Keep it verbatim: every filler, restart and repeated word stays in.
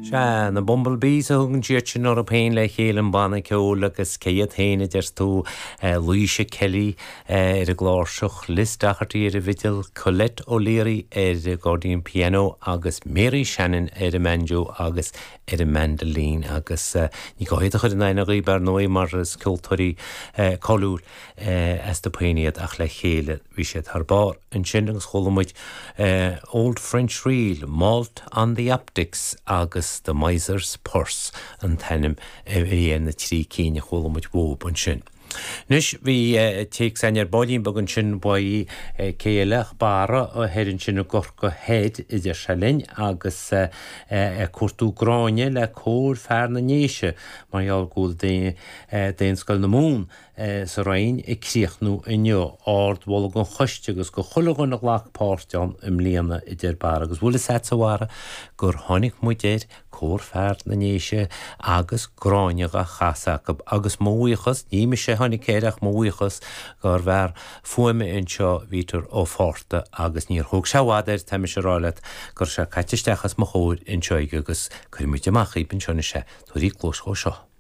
Sea, na Bumblebees a thugann siad sin orthu féin le chéile an banna ceoil agus cé hiad féin a deir tú Laoise Kelly ar an gcláirseach, Liz Doherty ar an bhfidil, Colette O'Leary ar an gaccordion piano agus Mary Shannon ar an mbanjo agus ar an mandolin agus ní gá iad a chur in aithne dhaoibh ar ndóigh mar is ceoltóirí cáiliúil astu féin iad ach le chéile bhí siad thar barr ansin agus chuala muid Old French Reel, Malt on the Optics agus The Miser's Purse an t-ainm a bhí ar na trí cinn a chuala muid uaibh ansin. Anois bhí téacs againn ar baillín beag ansin uaidh cé eile ach Barra thoir ansin i gCorcaigh Thoir idir sé linn agus ag cuartú Gráinne le cór fear na nDéise mar gheall go bhfuil Daonscoil na Mumhan sa Rinn ag críochnú inniu ardmholadh don choiste agus do chuile dhuine a ghlac páirt ann i mbliana a deir Barra agus bhfuil fhios agat a Bharra gur tháinig muid ar cór fear na nDéise agus Gráinne á chasadh acu agus mo bhuíochas ní mise a tháinig air ach mo bhuíochas don fhear fuaime anseo Bhítear Ó Fátharta agus níor thóg sé i bhfad air tá mise ag rá leat go raibh sé caite isteach os mo chomhair anseo agus cuirfidh muid amach í anseo anois é tabhair cluas dhó seo.